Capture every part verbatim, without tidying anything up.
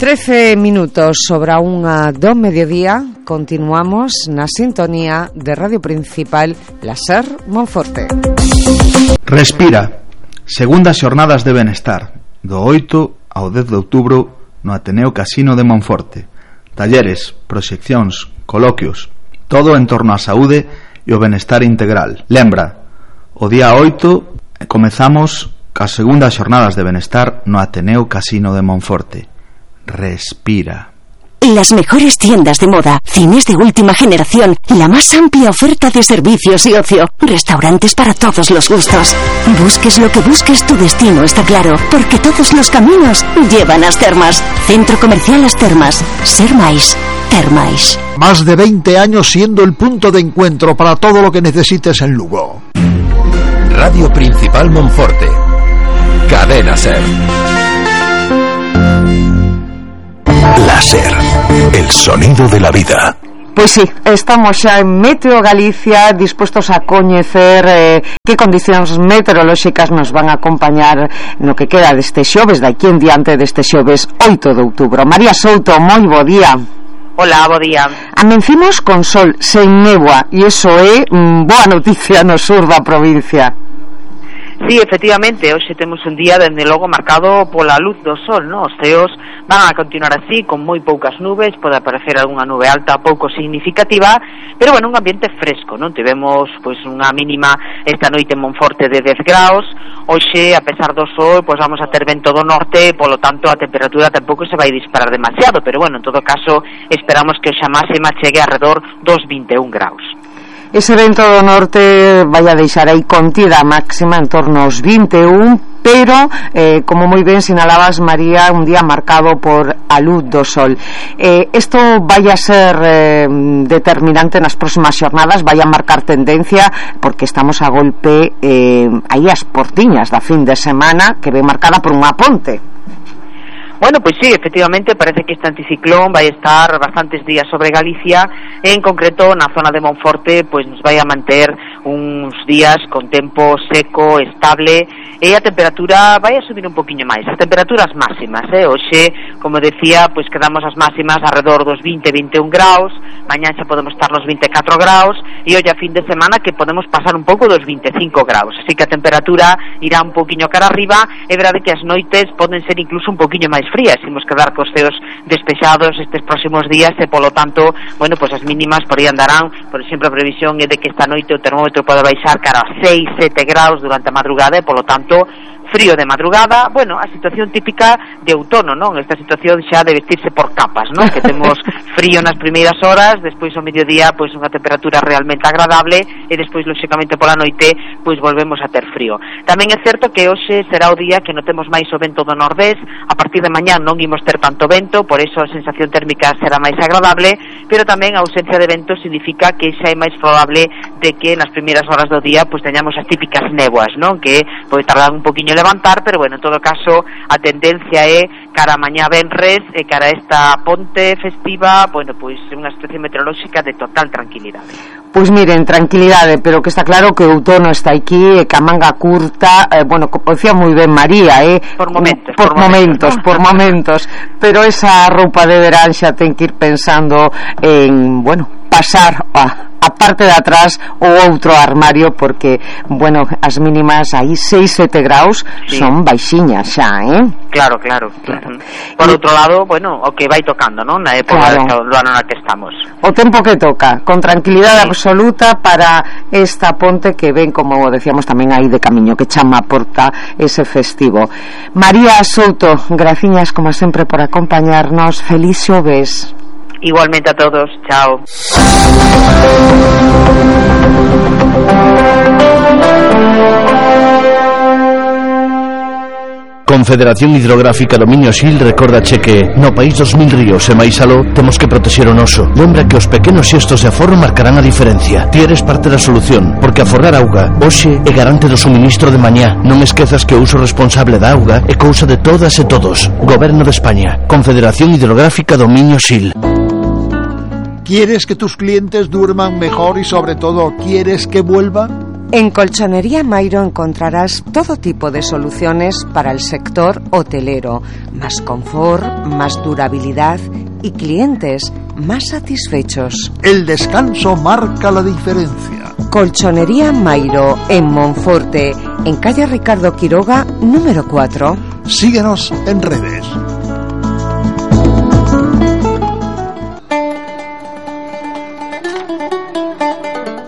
trece minutos sobre a unha do mediodía. Continuamos na sintonía de Radio Principal Láser Monforte. Respira. Segundas xornadas de benestar, do oito ao dez de outubro no Ateneo Casino de Monforte. Talleres, proxeccións, coloquios, todo en torno á saúde e o benestar integral. Lembra, o día oito comezamos cas segundas xornadas de benestar no Ateneo Casino de Monforte. Respira. Las mejores tiendas de moda, cines de última generación, la más amplia oferta de servicios y ocio, restaurantes para todos los gustos. Busques lo que busques, tu destino está claro, porque todos los caminos llevan a As Termas. Centro Comercial As Termas. Ser máis, ter máis. Más de veinte años siendo el punto de encuentro para todo lo que necesites en Lugo. Radio Principal Monforte. Cadena Ser. Láser, el sonido de la vida. Pois sí, estamos xa en Meteo Galicia, dispostos a coñecer eh, que condicións meteorolóxicas nos van a acompañar no que queda deste xoves, daqui en diante deste xoves oito de outubro. María Souto, moi bo día. Hola, bo día. Amencimos con sol, sen néboa, e iso é mm, boa noticia no sur da provincia. Sí, efectivamente, hoxe temos un día dende logo marcado pola luz do sol, non? Os ceos van a continuar así, con moi poucas nubes, pode aparecer algunha nube alta pouco significativa, pero bueno, un ambiente fresco, non? Tivemos pois unha mínima esta noite en Monforte de dez graus, hoxe, a pesar do sol, pois vamos a ter vento do norte, polo tanto a temperatura tampouco se vai disparar demasiado, pero bueno, en todo caso, esperamos que hoxe a máxima chegue alrededor dos vinte e un graus. Ese vento do norte vai a deixar aí contida máxima en torno aos vinte e un, pero, eh, como moi ben sinalabas, María, un día marcado por a luz do sol. Eh, esto vai a ser eh, determinante nas próximas xornadas, vai a marcar tendencia, porque estamos a golpe eh, aí as portiñas da fin de semana, que ve marcada por unha ponte. Bueno, pois sí, efectivamente parece que este anticiclón vai estar bastantes días sobre Galicia, en concreto na zona de Monforte pois nos vai a manter uns días con tempo seco, estable, e a temperatura vai a subir un poquinho máis, as temperaturas máximas, eh? Hoxe, como decía, pois quedamos as máximas alrededor dos vinte, vinte e un graus, mañá xa podemos estar nos vinte e catro graus, e hoxe a fin de semana que podemos pasar un pouco dos vinte e cinco graus, así que a temperatura irá un poquinho cara arriba, é verdade que as noites poden ser incluso un poquinho máis frías, imos quedar cos ceos despejados estes próximos días e polo tanto, bueno, pois as mínimas por aí andarán, por exemplo, a previsión é de que esta noite o termómetro pode baixar cara a seis, sete graus durante a madrugada e polo tanto frío de madrugada, bueno, a situación típica de outono, non? Esta situación xa de vestirse por capas, non? Que temos frío nas primeiras horas, despois ao mediodía, pois unha temperatura realmente agradable e despois, lóxicamente, pola noite, pois volvemos a ter frío. Tamén é certo que hoxe será o día que notemos máis o vento do nordés, a partir de mañá non imos ter tanto vento, por eso a sensación térmica será máis agradable, pero tamén a ausencia de vento significa que xa é máis probable de que nas primeiras horas do día, pois teñamos as típicas néboas, non? Que pode tardar un poquinho levantar, pero bueno, en todo caso a tendencia é cara a mañá venres e cara a esta ponte festiva, bueno, pois unha situación meteorolóxica de total tranquilidade. Pois miren, tranquilidade, pero que está claro que o outono está aquí e que a manga curta, eh, bueno, como decía moi ben María, eh, por momentos, por, por momentos, momentos ¿no? por momentos, pero esa roupa de verán xa ten que ir pensando en, bueno, pasar a a parte de atrás o outro armario, porque, bueno, as mínimas aí seis, sete graus sí. Son baixiñas xa, eh? Claro, claro, claro. Por y, outro lado, bueno, o que vai tocando, non? Na época claro. do ano na que estamos. O tempo que toca, con tranquilidade sí. absoluta para esta ponte que ven, como decíamos tamén aí de camiño, que chama a porta ese festivo. María Souto, graciñas como sempre por acompañarnos. Feliz xoves. Igualmente a todos, chao. Confederación Hidrográfica Dominio Sil recordache que no país dos mil ríos e máis aló temos que protexer o noso. Lembra que os pequenos xestos de aforro marcarán a diferencia. Ti eres parte da solución, porque aforrar auga hoxe é garante do suministro de mañá. Non esquezas que o uso responsable da auga é cousa de todas e todos. Goberno de España, Confederación Hidrográfica Dominio Sil. ¿Quieres que tus clientes duerman mejor y sobre todo quieres que vuelvan? En Colchonería Mairo encontrarás todo tipo de soluciones para el sector hotelero, más confort, más durabilidad y clientes más satisfechos. El descanso marca la diferencia. Colchonería Mairo en Monforte, en calle Ricardo Quiroga, número cuatro. Síguenos en redes.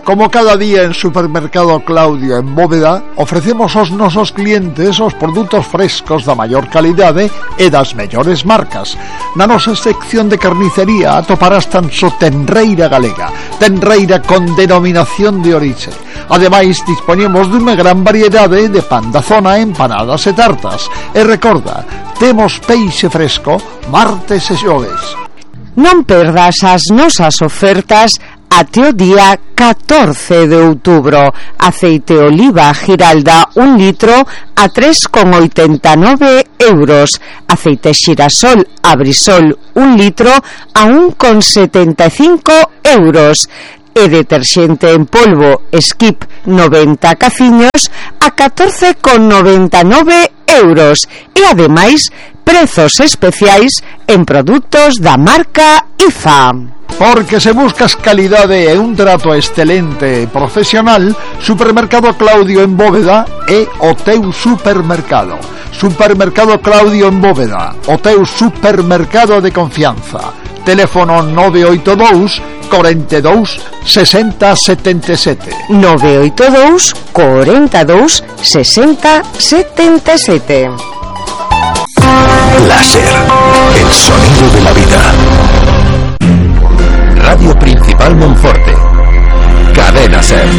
Como cada día en Supermercado Claudio en Bóveda, ofrecemos aos nosos clientes os produtos frescos da maior calidade e das mellores marcas. Na nosa sección de carnicería atoparás tan só tenreira galega, tenreira con denominación de orixe. Ademais, dispoñemos dunha gran variedade de pan da zona, empanadas e tartas. E recorda, temos peixe fresco martes e xoves. Non perdas as nosas ofertas até o día catorce de outubro. Aceite oliva Giralda un litro a tres con oitenta e nove euros. Aceite xirasol Abrisol un litro a un con setenta e cinco euros. E deterxente en polvo Skip noventa caciños a catorce con noventa e nove euros. E ademais prezos especiais en produtos da marca I F A. Porque se buscas calidade e un trato excelente e profesional, Supermercado Claudio en Bóveda é o teu supermercado. Supermercado Claudio en Bóveda, o teu supermercado de confianza. Teléfono nove oito dous, cuarenta e dous, sesenta, setenta e sete. nove oito dous, cuarenta e dous, sesenta, setenta e sete. Láser, el sonido de la vida. Radio Principal Monforte. Cadena SER.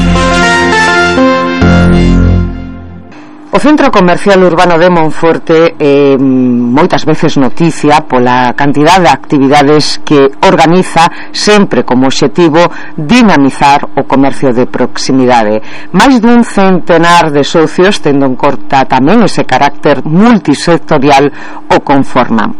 O Centro Comercial Urbano de Monforte é eh, moitas veces noticia pola cantidad de actividades que organiza, sempre como obxectivo dinamizar o comercio de proximidade. Máis dun centenar de socios, tendo en conta tamén ese carácter multisectorial, o conforman.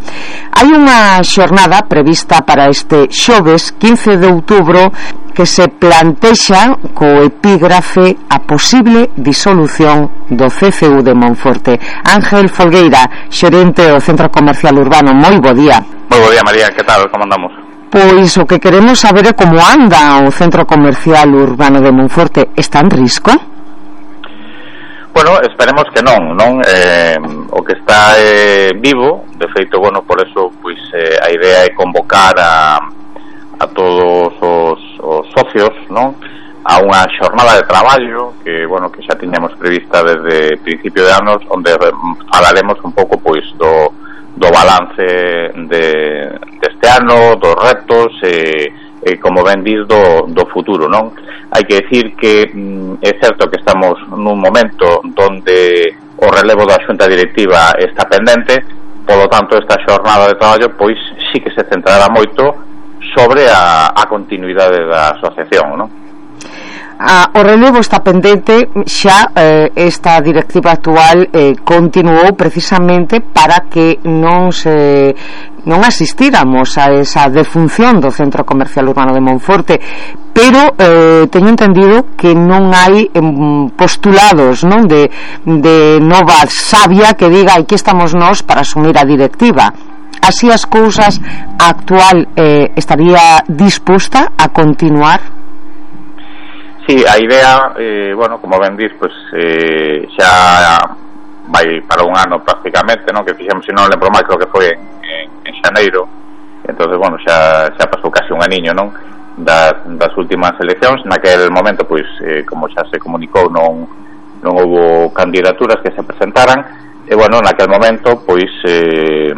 Hai unha xornada prevista para este xoves quince de outubro que se plantexa co epígrafe a posible disolución do C C U de Monforte. Ángel Folgueira, xerente do Centro Comercial Urbano, moi bo día. Moi bo día, María, que tal, como andamos? Pois o que queremos saber é como anda o Centro Comercial Urbano de Monforte. Está en risco? Bueno, esperemos que non, non? Eh, o que está eh, vivo, de feito, bueno, por eso, pois, eh, a idea é convocar a a todos os, os socios, non? A unha xornada de traballo que, bueno, que xa tiñamos prevista desde principio de anos, onde falaremos un pouco, pois, do, do balance de, deste ano, dos retos e, e como ben dis, do, do futuro, non? Hai que decir que mm, é certo que estamos nun momento donde o relevo da xunta directiva está pendente, polo tanto esta xornada de traballo, pois, sí que se centrará moito sobre a, a continuidade da asociación, non? Ah, o relevo está pendente, xa eh, esta directiva actual eh, continuou precisamente para que non se non asistíramos a esa defunción do Centro Comercial Urbano de Monforte, pero eh, teño entendido que non hai eh, postulados, non, de, de nova sabia que diga aquí estamos nós para asumir a directiva. Así as cousas, a actual eh, estaría disposta a continuar? Sí, a idea, eh, bueno, como ben dis, pues, eh, xa vai para un ano prácticamente, non? Que fixemos, se non lembro máis, creo que foi en, en, en xaneiro. Entonces, bueno, xa, xa pasou casi un aniño, non? Das, das últimas eleccións. Naquel momento, pois, eh, como xa se comunicou, non, non houbo candidaturas que se presentaran. E, bueno, naquel momento, pois, eh,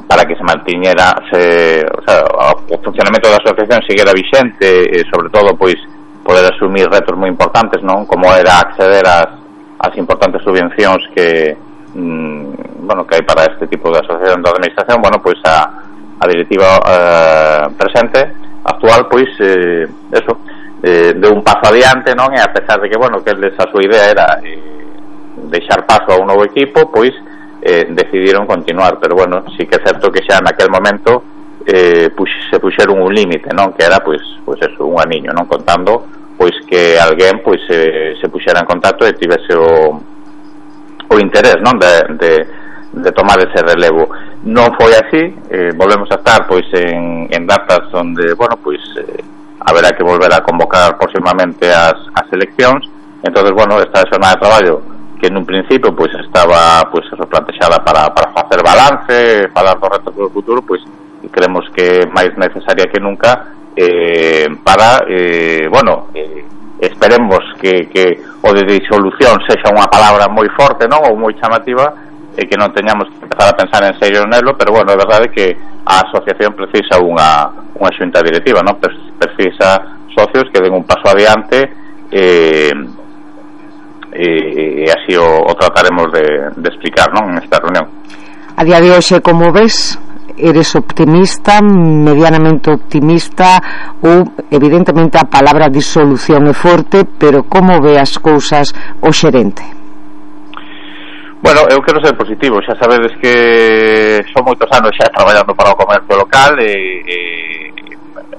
para que se mantiñera se, o sea, o funcionamento da asociación seguira vixente e sobre todo pois poder asumir retos moi importantes, non, como era acceder ás, ás importantes subvencións que mm, bueno, que hai para este tipo de asociación da administración. Bueno, pois a, a directiva eh, presente actual, pois eh, eso eh, de un paso adiante, non, e a pesar de que, bueno, que eles a súa idea era eh, deixar paso a un novo equipo, pois Eh, decidiron continuar, pero bueno, sí que é certo que xa naquel momento eh, pux, se puxeron un límite, non, que era pois, pois eso, un aniño, non, contando pois que alguén pois se, se puxera en contacto e tivese o, o interés, non, de, de, de tomar ese relevo. Non foi así, eh, volvemos a estar pois en, en datas onde, bueno, pois eh, haberá que volver a convocar próximamente as, as eleccións. Entonces, bueno, esta xornada de traballo que nun principio pois estaba pois replantexada para, para facer balance, falar do reto do futuro, pois creemos que máis necesaria que nunca eh, para, eh, bueno, eh, esperemos que, que o de disolución sexa unha palabra moi forte, non, ou moi chamativa, e que non teñamos que empezar a pensar en serio nelo, pero bueno, é verdade que a asociación precisa unha, unha xunta directiva, non, precisa socios que den un paso adiante, e eh, e, e así o, o trataremos de, de explicar, non, en esta reunión. A día de hoxe, como ves, eres optimista, medianamente optimista, ou evidentemente a palabra disolución é forte, pero como ve as cousas o xerente? Bueno, eu quero ser positivo. Xa sabedes que son moitos anos xa traballando para o comercio local e, e,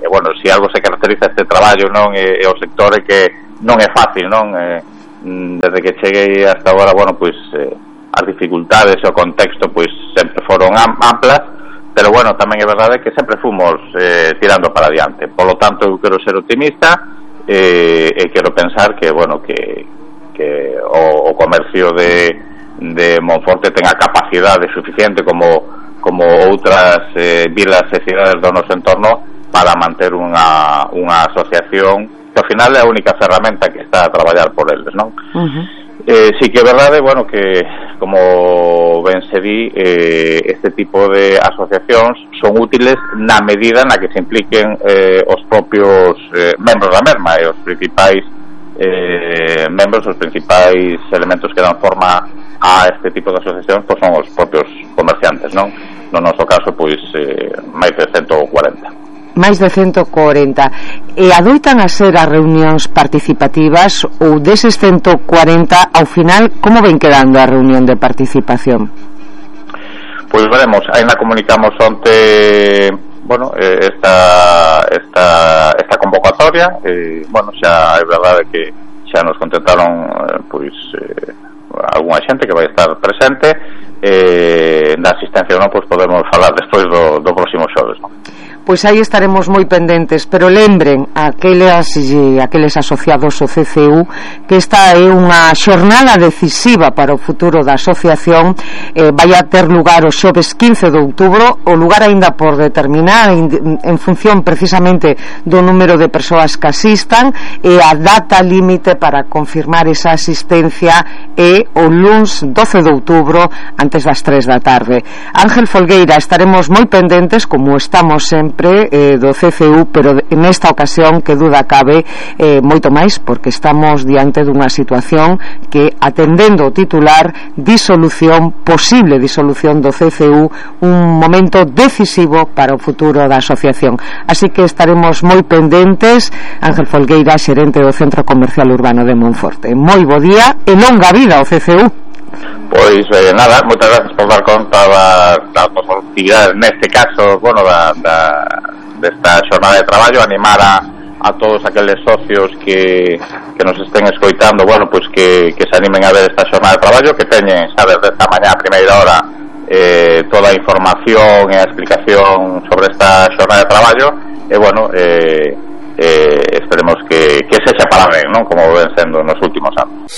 e bueno, se si algo se caracteriza este traballo, non, e, e o sector é que non é fácil, non, e, desde que cheguei hasta agora, bueno, pois eh, as dificultades e o contexto pois sempre foron amplas, pero bueno, tamén é verdade que sempre fomos eh, tirando para adiante. Por lo tanto, eu quero ser optimista eh, e quero pensar que, bueno, que, que o, o comercio de, de Monforte tenga capacidade suficiente como, como outras eh, vilas e cidades do noso entorno para manter unha, unha asociación que ao final é a única ferramenta que está a traballar por eles, non? Uh-huh. Eh, sí que é verdade, bueno, que como ben se di, eh, este tipo de asociacións son útiles na medida na que se impliquen eh, os propios eh, membros da mesma, e os principais eh, membros, os principais elementos que dan forma a este tipo de asociacións pois son os propios comerciantes, non? No noso caso, pois, eh, máis de ciento cuarenta. Máis de ciento cuarenta. E adoitan a ser as reunións participativas, ou deses ciento cuarenta ao final como ven quedando a reunión de participación? Pois veremos, ainda comunicamos onte, bueno, esta esta esta convocatoria, e bueno, xa é verdade que xa nos contestaron pois eh, algunha xente que vai estar presente, eh, da asistencia non, pois podemos falar despois do, do próximo xoves, non? Pois aí estaremos moi pendentes, pero lembren aqueles, aqueles asociados ao C C U que esta é unha xornada decisiva para o futuro da asociación. eh, vai a ter lugar o xoves quince de outubro, o lugar aínda por determinar en, en función precisamente do número de persoas que asistan, e a data límite para confirmar esa asistencia é o luns doce de outubro antes das tres da tarde. Ángel Folgueira, estaremos moi pendentes como estamos sempre Eh, do C C U, pero nesta ocasión, que duda cabe, eh, moito máis porque estamos diante dunha situación que, atendendo o titular, disolución, posible disolución do C C U, un momento decisivo para o futuro da asociación. Así que estaremos moi pendentes. Ángel Folgueira, xerente do Centro Comercial Urbano de Monforte, moi bo día e longa vida ao C C U. Pois eh, nada, moitas gracias por dar conta das, das actividades, neste caso, bueno, da, da, desta xornada de traballo, animar a, a todos aqueles socios que, que nos estén escoitando, bueno, pois que, que se animen a ver esta xornada de traballo, que teñen, xa desde esta mañá a primeira hora eh, toda a información e a explicación sobre esta xornada de traballo, e bueno, eh, eh, esperemos que, que se separen, non, como ven sendo nos últimos anos.